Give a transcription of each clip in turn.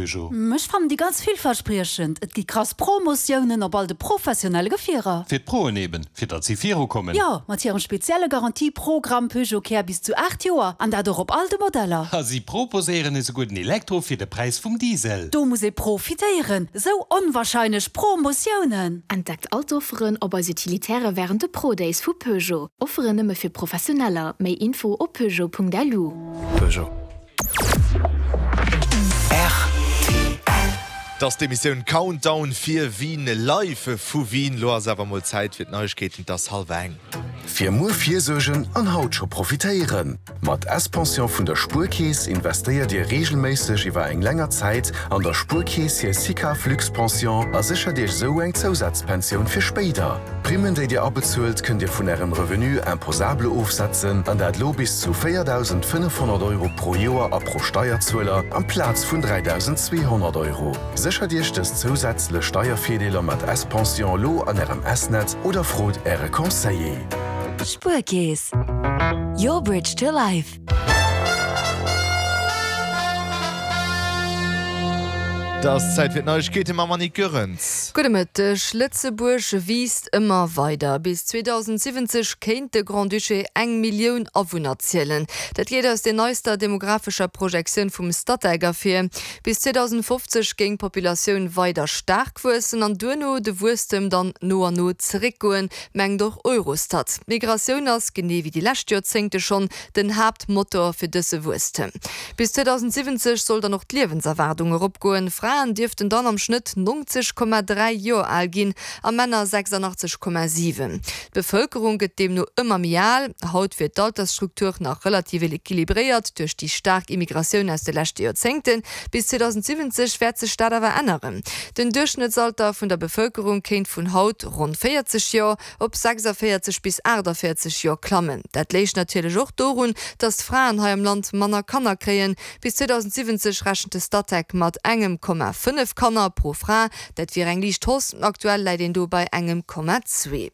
Peugeot. Ech fannen déi ganz villverspriechend. Et gi krass Promotiounen op all de professionelle Gefierer. Fir d'Proen eben, fir datt si viru kommen. Jo, mat hirem spezielle Garantie-Programm Peugeot Care bis zu 8 Joer, an dat och op all de Modeller. A si proposéieren esouguer den Elektro fir de Präis vum Diesel. Do muss ee profitéieren, esou onwahrscheinlech Promotiounen! Entdeckt all d'Offeren op eis Utilitäre wärend de Pro-Days vu Peugeot. Offeren nëmme fir Professioneller. Méi Info op peugeot.lu. Peugeot. Rtl. 't ass d'Emissioun Countdown fir Wien live vu Wien. Lo ass awer mol Zäit fir d'Neiegkeeten, 't ass hallwer eng. Fir muer virsuergen an haut scho profitéieren! Mat S-Pension vun der Spuerkeess investéiert Dir reegelméisseg iwwer eng länger Zäit an der Spuerkeess hir SICAV Luxe-Pension a séchert Iech esou eng Zousazpensioun fir spéider. D'Primmen, déi Dir abezuelt, kënnt Dir vun Ärem Revenu imposable ofsetzen, an dat lo bis zu 4.500 Euro pro Joer a pro Steierzueler, amplaz vun 3.200 Euro. Séchert Iech dës zousätzlech Steiervirdeeler mat S-Pension lo an Ärem S-Netz oder frot Äre Conseiller. Spuerkeess, your bridge to life. Et ass Zäit fir d'Neiegkeete mam Annick Goerens. Gudde Mëtteg. Lëtzebuerg wiisst ëmmer weider. Bis 2070 kéint de Grand-Duché eng Millioun Awunner zielen. Dat geet aus der neister demographescher Projektioun vum Statec ervir. Bis 2050 géing d'Populatioun weider staark wuessen an duerno de Wuesstem dann no an no zeréckgoen, mengt och Eurostat. D'Migratioun ass, genee wéi déi lescht Joerzéngte schonn, den Haaptmotor fir dëse Wuesstem. Bis 2070 soll dann och d'Liewenserwaardung eropgoen. Fraen dierften dann am Schnëtt 90,3 Joer al ginn a Männer 86,7. D'Bevëlkerung gëtt deemno ëmmer méi al. Haut wier d'Altersstruktur nach relativ equilibréiert duerch déi staark Immigratioun aus de leschte Joerzéngten. Bis 2070 wäert sech dat awer änneren. Den Duerchschnëttsalter vun der Bevëlkerung kéint vun haut ronn 40 Joer op 46 bis 48 Joer klammen. Dat léich natierlech och dorun, datt d'Fraen hei am Land manner Kanner kréien. Bis 2070 rechent de Statec mat engem Komma 5 Kanner pro Fra. Dat wier eng liicht Hausse, aktuell läit een do bei engem Komma zwee.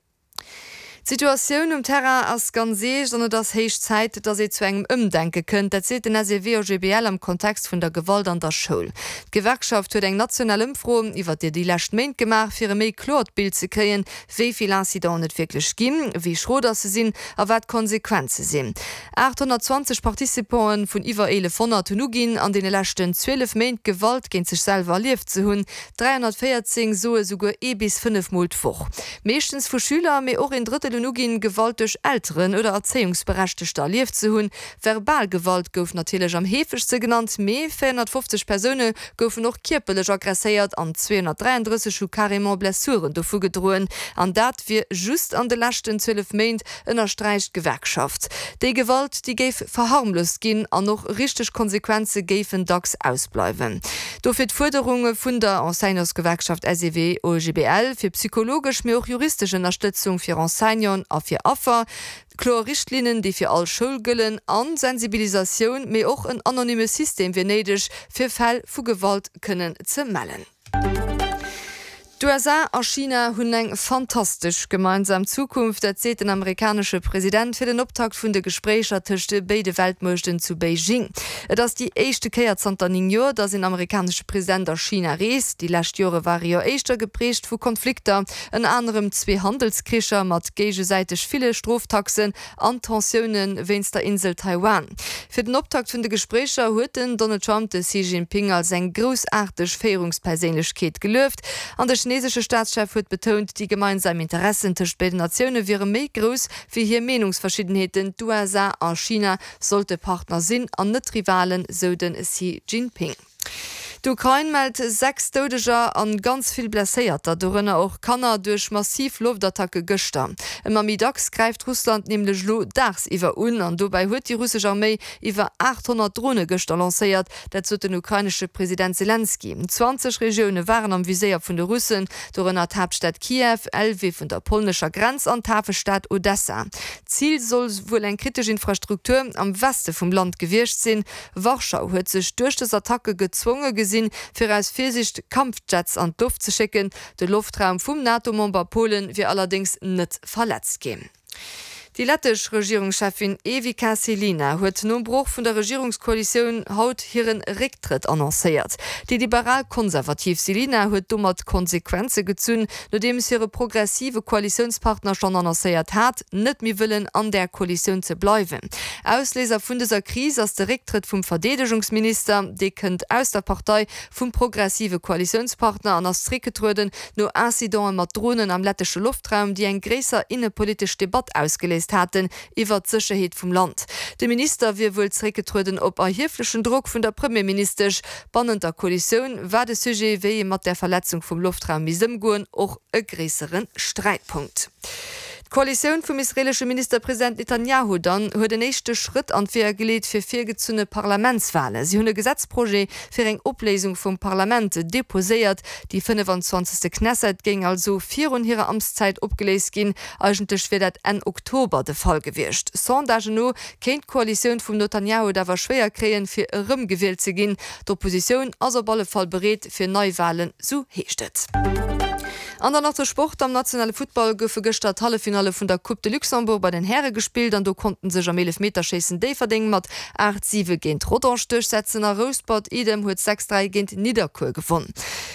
D'Situatioun um Terrain ass ganz eescht an et ass héich Zäit, datt ee zu engem Ëmdenke kënnt. Dat seet den SEW-OGBL am Kontext vun der Gewalt an der Schoul. D'Gewerkschaft huet eng national Ëmfro iwwer déi lescht Méint gemaach, fir e méi kloert Bild ze kréien, wéi vill Incidenten et wierklech ginn, wéi schro dass se sinn a wat d'Konsequenze sinn. 820 Participanten vun iwwer 1.100 hunn uginn, an deene leschten 12 Méint Gewalt géint sech selwer erlieft ze hunn. 314 soe souguer ee bis 5 Mol d'Woch. Meeschtens vu Schüler, mee och een Drëttel hunn uginn, Gewalt duerch Elteren oder Erzéiungsberechtegter erlieft ze hunn. Verbal Gewalt gouf natierlech am heefegste genannt, mee 450 Persoune goufen och kierperlech aggresséiert an 233 hu carrément Blessuren dovu gedroen. An dat wier just an de leschten 12 Méint, ënnersträicht d'Gewerkschaft. Déi Gewalt, déi géif verharmlost ginn an och richteg Konsequenze géifen dacks ausbleiwen. Dofir d'Fuerderunge vun der Enseignantsgewerkschaft SEW-OGBL fir psychologesch, mee och juristesch Ënnerstëtzung fir Enseignanten a fir Affer. Kloer Richtlinnen, déi fir all Schoul gëllen, an Sensibilisatioun, mee och en anonyme System wier néideg, fir Fäll vu Gewalt kënnen ze mellen. D'USA a China hunn eng fantastesch gemeinsam Zukunft, dat seet den amerikanesche President fir den Optakt vun de Gespréicher tëscht béide Weltmuechten zu Beijing. Et ass déi éischte Kéier zanter 9 Joer, datt een amerikanesche President a China reest. Déi lescht Jore ware jo éischter geprägt vu Konflikter. Ënner anerem zwee Handelskricher mat géigesäiteg ville Stroftaxen an Tensioune wéinst der Insel Taiwan. Fir den Optakt vun de Gespréicher huet den Donald Trump de Xi Jinping als eng groussaarteg Féierungsperséinlechkeet gelueft an de chinesesche Staatschef huet betount, déi gemeinsam Interessen tëscht béiden Natioune wiere méi grouss wéi hir Meenungsverschiddenheeten. D'USA a China sollte Partner sinn an net Rivalen, sou de Xi Jinping. D'Ukrain mellt 6 Doudeger an ganz vill Blesséierter, dorënner och Kanner, duerch massiv Loftattacke gëschter. Ëmmer méi dacks gräift Russland nämlech elo daagsiwwer un an dobäi huet déi russesch Arméi iwwer 800 Drone gëschter lancéiert. Dat sot den ukrainesche President Selenskyj. 20 Regioune waren am Viséier vun de Russen, dorënner d'Haaptstad Kiew, Lwiw un der polnescher Grenz an d'Hafestad Odessa. Zil soll wuel eng kritesch Infrastruktur am Weste vum Land gewiescht sinn. Warschau huet sech duerch dës Attacke gezwonge gesinn, fir aus Virsiicht Kampfjets an d'Loft ze schécken. De Loftraum vum NATO-Member Polen wier allerdéngs net verletzt ginn. Déi lettesch Regierungscheffin Evika Selina huet nom Broch vun der Regierungskoalitioun haut hire Récktrëtt annoncéiert. Déi liberal-konservativ Selina huet domat Konsequenze gezunn, nodeems hire progressive Koalitiounspartner schonn annoncéiert hat, net méi wëllen an där Koalitioun ze bleiwen. Ausléiser vun dëser Kris ass de Récktrëtt vum Verdeedegungsminister. Dee kënnt aus der Partei vum progressive Koalitiounspartner an ass zréckgetrueden, no Incidente mat Dronen am lettesche Loftraum, déi eng gréisser innepolitesch Debatt ausgeléist haten iwwert d'Sécherheet vum Land. De Minister wier wuel zeréckgetrueden op erhieflechen Drock vun der Premierministesch. Bannent der Koalitioun war de Sujet, wéi ee mat där Verletzung vum Loftraum misst ëmgoen, och e gréissere Sträitpunkt. D'Koalitioun vum israeelesche Ministerpresident Netanjahu dann huet en éischte Schrëtt an d'Weeër geleet fir virgezunne Parlamentswalen. Si hunn e Gesetzprojet fir eng Opléisung vum Parlament deposéiert. Déi 25. Knesset géing also virun hirer Amtszäit opgeléist ginn. Eigentlech wier dat Enn Oktober de Fall gewiescht. Sondagen no kéint d'Koalitioun vum Netanjahu et awer schwéier kréien, fir erëmgewielt ze ginn. D'Oppositioun ass op alle Fall bereet fir Neiwalen, sou heescht et. An dann nach de Sport, Am nationale Futtball goufe gëschter d'Halleffinalle vun der Coupe de Luxembourg bei den Häre gespillt an do konnten sech am Eelefmeterschéissen Déifferdeng mat 8, 7 géint Rodange duerchsetzen a Rouspert Idem huet 6, 3 géint Nidderkuer gewonn.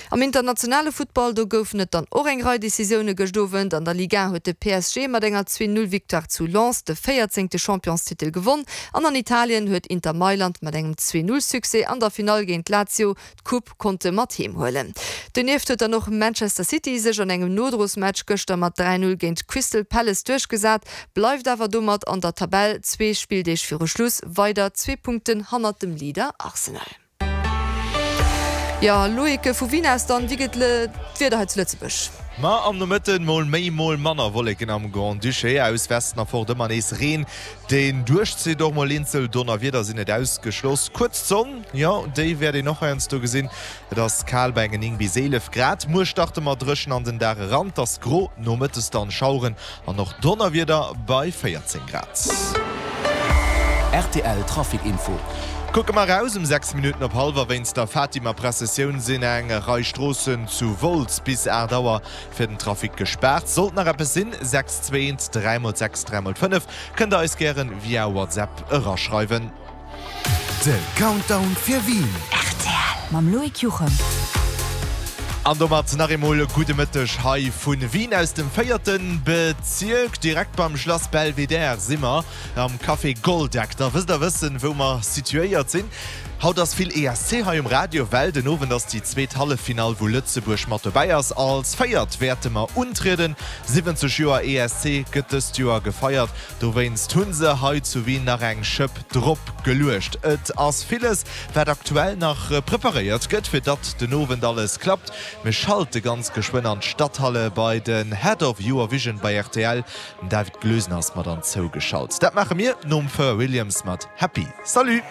Am internationale Futtball, do goufen et dann och eng Rei Decisioune gëscht Owend. An der Ligue 1 huet de PSG mat enger 2, 0 Victoire zu Lens de véierzéngte Championstitel gewonn an an Italien huet Inter Mailand mat engem 2, 0 Succès an der Finall géint Lazio d'Coupe konnte mat heem huelen. Donieft huet dann och Manchester City sech an engem Nodrosmatch gëschter mat 3, 0 géint Crystal Palace duerchgesat, bleift awer domat an der Tabell zwee Spilldeeg viru Schluss weider zwee Punkten hannert dem Leader Arsenal. Jo Loïc, vu Wien aus dann? Wéi gëtt d'Wieder hei zu Lëtzebuerg? Ma am Nomëtten mol méi, mol manner Wolleken am Grand-Duché, aus Westen erfort ëmmer nees Reen, deen duerchzitt. Och mol eenzel Donnerwieder sinn net ausgeschloss. Kuerz d'Sonn, jo déi wäert een och heiansdo gesinn. Et ass kal bei engen 9 bis 11 Grad. Muer starte mer dréchen an den Dag eran, 't ass gro, nomëttes dann Schaueren an och Donnerwieder bei 14 Grad. Rtl Trafic Info. Kucke mer eraus, Um 6 Minutten op hallwer wéinst der Fatima-Pressessioun sinn eng Rei Stroossen zu Wolz bis 8 Auer fir den Trafic gespaart. Sollt nach eppes sinn, 6 2 1 3 x 6 3 x 5 kënnt der eis gären via WhatsApp eraschreiwen. De Countdown fir Wien. Rtl mam Loïc Juchem. An domat nach eemol gudde Mëtteg hei vu Wien aus dem véierte Bezierk. Direkt beim Schlass Belvedere si mer am Café Goldeck. Da wësst der wëssen, wou mer situéiert sinn. Haut ass vill ESC hei um Radio, well den Owend ass déi zweet Halleffinall, wou Lëtzebuerg mat dobäi ass. Als Véiert wäerte mer untrieden. 70 Joer ESC gëtt dëst Joer gefeiert. Dowéinst hu se hei zu Wien nach eng Schëpp drop geluecht. Et ass villes, wat aktuell nach preparéiert gëtt, fir datt den Owend alles klappt. Mir schalte ganz geschwënn an d'Stadthalle bei den Head of Eurovision bei rtl, den David Glösener ass mat an zougeschalt. Dat maache mir nom Pharrell Williams mat Happy. Salut!